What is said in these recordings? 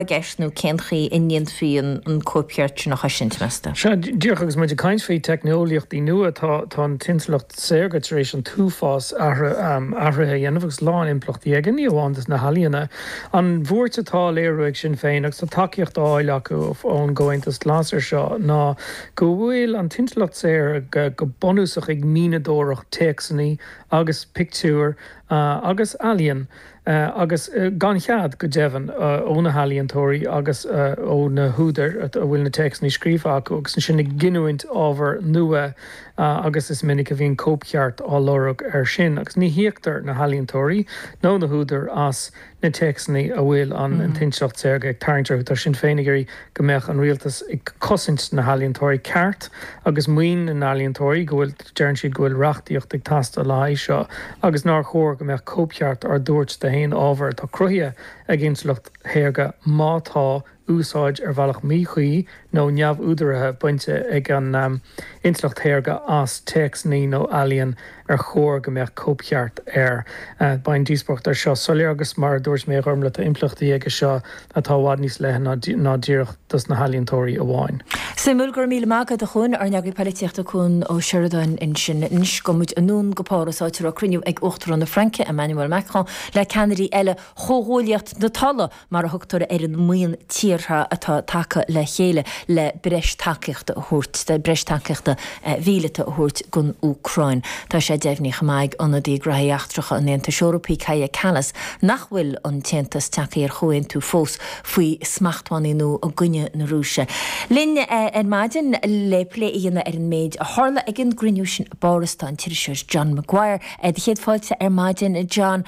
I gceist nó cén chaoi a ndéanfaí an cóipcheart sin a chosaint, meas tú? Sea, díreach agus muid ag caint faoi teicneolaíochtaí nua, tá tá an t-intleacht saorga tar éis an t-uafás athruithe a dhéanamh agus a lán impleachtaí aige, ní amháin dos na healaíona. An bhuairt atá á léiriú ag Sinn Féin, agus tá tacaíocht á fháil acu ón gComhaontas Glas air seo, ná go bhfuil an t-intleacht saorga go bunúsach ag mianadóireacht téacsanna agus pictiúr agus ealaíon. agus gan chead, go deimhin, ó na healaíontóirí agus ó na húdair a bhfuil na téacsanna scríofa acu, agus ansin ag giniúint ábhar nua agus is minic a bhíonn cóipcheart á lorg air sin agus ní híoctar na healaíontóirí nó na húdair as na téacsanna a bhfuil an t-intleacht saorga ag tarraingt orthu. Tá Sinn Féin ag iarraidh go mbeadh an rialtas ag cosaint na healaíontóirí ceart agus maoin na n-ealaíontóirí, go bhfuil. Deireann siad go bhfuil reachtaíocht ag teastáil le haghaidh seo agus nár chóir go mbeadh cóipcheart á dtabhairt d'aon ábhar atá cruthaithe ag intleacht shaorga má tá úsáid ar bhealach míchuí nó neamhúdaraithe bainte ag an intleacht shaorga as téacsanna nó ealaíon ar chóir go mbeadh cóipcheart air. Beidh an díospóireacht air seo soiléir agus mar a dúirt mé a Ghormlaith tá impleachtaí aige seo atá i bhfad níos leithne ná díreach dos na healaíontóirí amháin. Suimiúil, go raibh míle maith agat a Chuain, ár n-eagraí poilitíochta Cuan Ó Seireadáin ansin. Anois gabhfaidh muid anonn go Páras áit a raibh cruinniú ag Uachtarán na Fraince, Emmanuel Macron, le ceannairí eile Chomhghuaillíocht na Tola, mar a thugtar ar an mbuíon tíortha atá tagtha le chéile le breis tacaíochta a thabhairt, breis tacaíochta mhíleata a thabhairt don Úcráin. Tá sé deimhnithe chomh maith ag ionadaí Gnóthaí Eachtracha an Aontais Eorpaigh, Kaja Kallas, nach bhfuil an tAontas tagtha ar chomhaontú fós faoi smachtbhannaí nua i gcoinne na Rúise. Linn ar maidin le plé a dhéanamh ar an méid a tharla ag an gcruinniú sin i bPáras tá an t-iriseoir John Maguire. Do chéad fáilte ar maidin, John.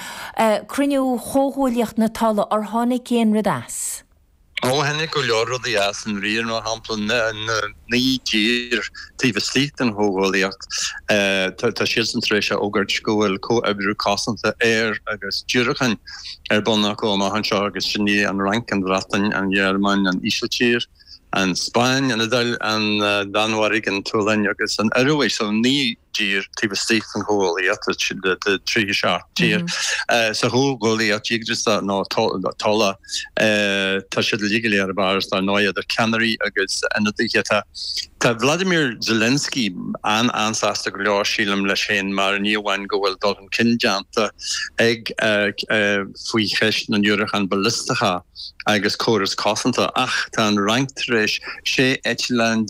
Cruinniú Chomhghuaillíocht na Tola, ar tháinig aon rud as? Ó, tháinig go leor rudaí as i ndáiríre, mar shampla, na 9 dtír taobh istigh den chomhghuaillíocht, tá siadsan tar éis a fhógairt go bhfuil comhoibriú cosanta aeir agus diúracáin ar bun acu amach anseo agus sin í an Fhrainc, an Bhreatain, an Ghearmáin, an Ísiltír, an Spáinn, an Iodáil, an Danmhairg, an tSualainn agus an Ioruaidh. So 9 dtír taobh istigh den chomhghuaillíocht, de 37 tír sa chomhghuaillíocht dhíograiseach nó Tola. Tá siad uilig go léir i bPáras dar ndóigh, idir ceannairí agus ionadaithe. Tá tá Vladimir Zelensky an-an-sásta go leor, sílim, leis féin mar ní amháin go bhfuil dul chun cinn déanta ag faoi cheist na ndiúracán ballisteacha agus córas cosanta ach tá an Fhrainc tar éis 16 eitleán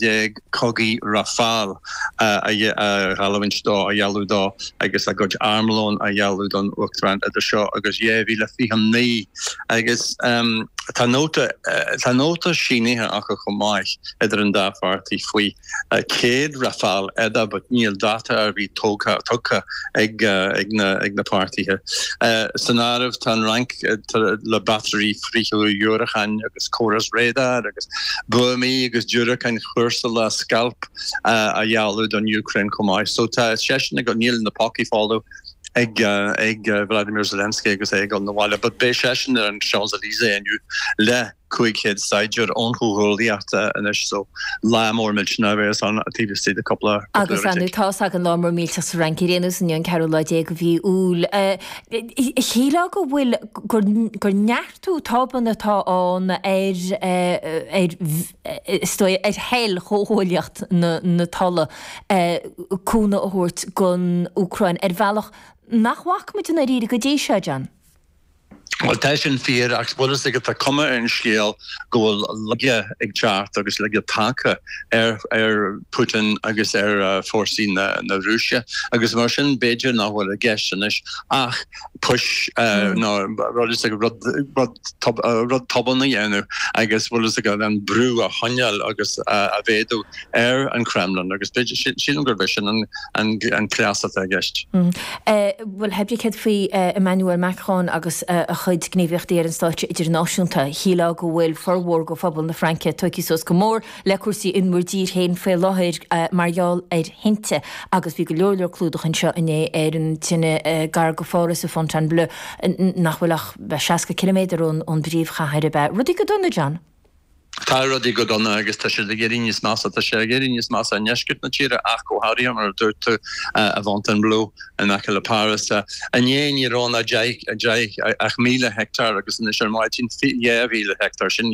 cogaidh Rafale a gheallúint dó, a ghealladh dó agus a gcuid armlóin a ghealladh don Úcráin idir seo agus 2029. Agus tá nóta, tá nóta sínithe acu chomh maith idir an dá pháirtí faoi 100 Rafale eile but níl dáta ar bith tógtha, tugtha ag na, ag na páirtithe. San áireamh tá an Fhrainc le batairí frithdhiúracáin agus córas radar agus buamaí agus diúracáin chúrsála Scalp a ghealladh don Úcráin chomh maith. So tá seisean ag, níl na pócaí folamh ag ag Vladimir Zelensky agus é ag dul 'na bhaile, but beidh seisean ar an Champs-Élysées inniu le 500 saighdiúir ón Chomhghuaillíocht anois so lá mór millteanach a bheas ann taobh istigh de cúpla Agus ar ndóigh tá's againn lá mór millteach sa Fhrainc ar aon nós inniu an ceathrú lá déag de mhí Iúil. Shílfeá go bhfuil gur gur neartú tobann atá ann ar ar is dóigh, ar thoil Chomhghuaillíocht na Tola cúnamh a thabhairt don Úcráin ar bhealach nach bhfaca muid i ndáiríre go dtí seo, John. Bhuel, tá sin fíor, ach bhfuil fhios agat, tá cuma ar an scéal go bhfuil laige ag teacht agus laige tagtha ar ar Putin agus ar fórsaí na na Rúise agus mar sin b'fhéidir nach bhfuil i gceist anois ach push nó rud is rud rud rud tobann a dhéanamh agus bhfuil fhios agat an brú a choinneáil agus a mhéadú ar an Kremlin agus sílim gurb é sin an cleas atá i gceist. Bhuel, pé ar bith céard faoi Emmanuel Macron agus a chuid gníomhaíochtaí ar an stáitse idirnáisiúnta, shílfeá go bhfuil formhór de phobal na Fraince tógtha suas go mór le cúrsaí in bhur dtír féin faoi láthair mar gheall ar thinte agus bhí go leor leor clúdach anseo inné ar an tine gar go Pháras i Fontainebleau nach bhfuil ach 60 ciliméadar ón bpríomhchathair ab ea? Rudaí go dona, John? Tá. Tá rudaí go dona agus tá siad ag éirí níos measa. Tá sé ag éirí níos measa i ndeisceart na tíre ach go háirithe, mar a dúirt tú, i bhFontainebleau in aice le Páras. Inné ní raibh ann ach 10,000 heicteár agus anois ar maidin 2,000 heicteár. Sin.